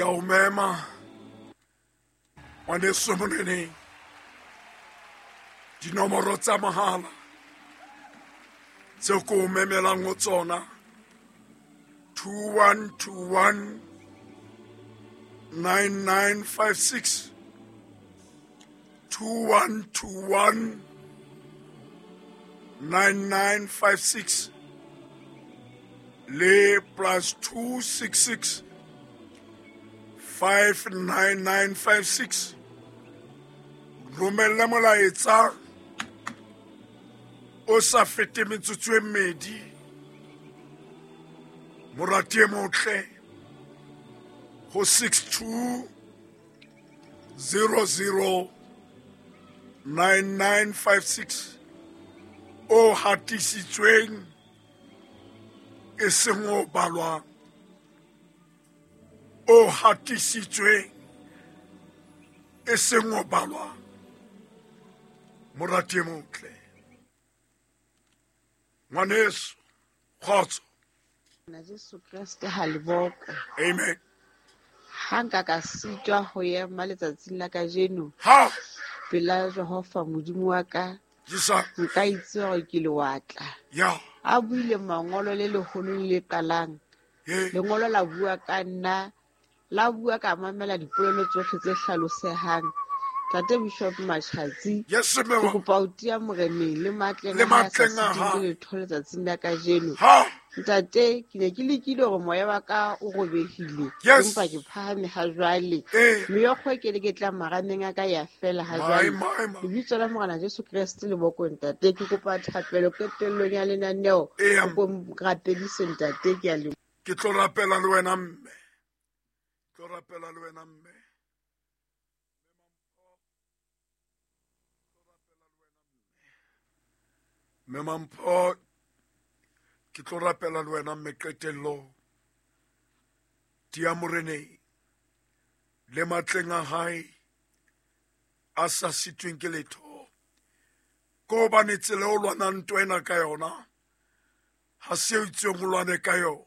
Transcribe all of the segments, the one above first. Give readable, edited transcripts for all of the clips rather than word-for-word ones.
Ke a o mema ngwaneso moneneng, dinomoro tsa mohala tseo ke o memelang ho tsona 2121 9956, 2121 9956 le plus 266 59956. Romelle molaetsa o sa fete metsotso e mmedi, morati e motle, go 62 00 9956 o hatisitsweng e seng o balwang, o hatisitsweng e seng o balwang, morati e motle, ngwaneso, kgotso. Na Jesu Kreste ha le boka. Amen. Ha nka ka sitwa ho ema letsatsing la kajeno Ha pela Jehova Modimo wa ka, Jisa. nka itse hore ke lewatla. Ya. A buile mangolo le leholo le qalang. Ye. Lengolo la bua ka nna, la bua ka mamela dipolelo tsohle tse hlalosehang. Tate Bishop Machatsi, Yes, ke mme. kopa ho tia moreneng le matleng Le a hae a sa matleng a sitweng hae. ke letho letsatsing la kajeno. Ha. Ntate, ke ne ke lekile hore moya wa ka o robehile, Yes. empa ke phahame ha jwale. Eh. Meokgo e ke le ke tla marameng a ka ya fela ha My, jwale. my, my. Lebitso la Morena Jesu Kreste le boko ntate. Ke kopa thapelo qetellong ya lenaneo. Eya. O ko rapedise ntate, ke a leboha. Ke tlo rapela le wena mme. Tlo rapela le wena mme. Mme Mampho, ke tlo rapela le wena mme qetellong. Tia moreneng le matleng a hae a sa sitweng ke letho. Ko hobane tsela o lwanang ntwa ena ka yona ha se eo itseng o lwane ka yona.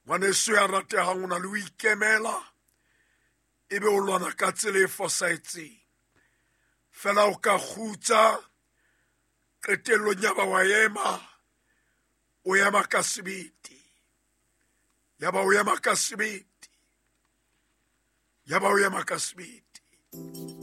Ngwaneso ya ratehang, o na le ho ikemela ebe o lwana ka tsela e fosahetseng. Fela o ka kgutsa qetellong ya ba wa ema, o ema ka sebete. Ya ba o ema ka sebete. Ya ba o ema ka sebete.